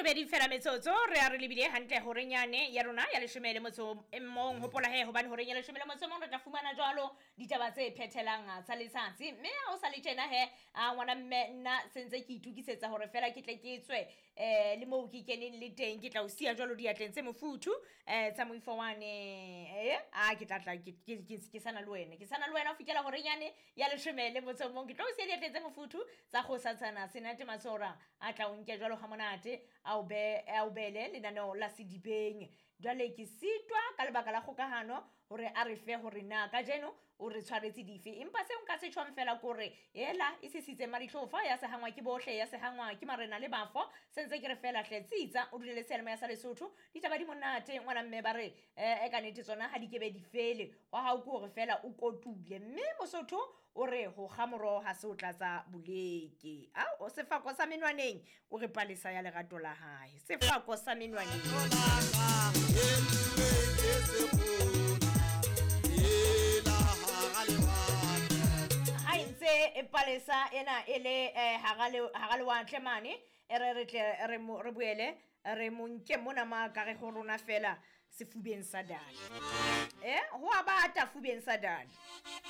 Robedi fela metsotso re a re lebile hantle horeng yane ya rona ya leshome le motso e mong. Hopola he hobane horeng ya leshome le motso e mong re tla fumana jwalo ditaba tse phethelang tsa letsatsi. Mme ha o sa le tjena he, a ngwana mme, nna sentse ke itukisetsa hore fela ke tle ke tswe le moo ke keneng le teng. Ke tla o siya jwalo diatleng tse mofuthu tsa moifo wane. A ke tla tla ke sana le wena, ke sana le wena ho fihlela horeng yane ya leshome le motso o mong. Ke tlo o siya diatleng tse mofuthu tsa kgosatsana Senate Matsora, a tla o nke jwalo ha monate, a o be a o bele lenaneo la sedibeng. Jwale ke sitwa ka lebaka la kgokahano hore a re fe hore na kajeno o re tshwaretse dife, empa seo nka se tjhong fela kore ela e sisitse madihlofa ya sehangwa ke bohle, ya sehangwa ke marena le bafo. Sentse ke re fela hle tsitsa o dule le seyalemoya sa Lesotho. Ditaba di monate ngwana mme, ba re ka nnete tsona ha di kebe di fele. Wa hao ke hore fela o kotule, mme Mosotho o re ho kga moroho ha se o tlatsa boleke. Ao sefako sa menwaneng o re palesa ya lerato la hae, sefako sa menwaneng. Ha e ntse e palesa ena e le hara lewatle mane, e re re tle re mo re boele re mo nke mona ma ka re ho rona fela sefubeng sa dali. Ho a bata fubeng sa dali.